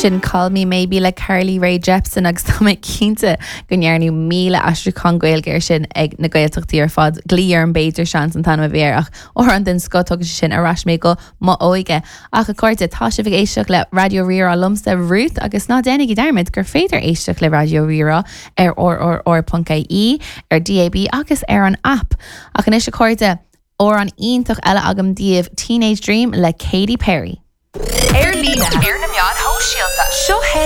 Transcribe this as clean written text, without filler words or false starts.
Sin Call Me Maybe le Carly Rae Jepsen agus tá mé cinnte go ndearnadh 1000 aistriúchán Gaeilge air sin ag na Gaeltachtaí ar fad. Glaoigh orm b'fhéidir seans an t-ainm a bhí air ach amhrán den scoth tugann sé sin ar ais mé go mo óige. Ach a chairde, tá sibh ag éisteacht le Raidió Rí-Rá liomsa, Ruth, agus ná déanaigí dearmad gur féidir éisteacht le Raidió Rí-Rá ar rrr.ie, ar DAB agus ar an aip. Ach anois a chairde, amhrán iontach eile agam daoibh, Teenage Dream le Katy Perry. Ar líne, ar na meáin shóisialta. Seo é.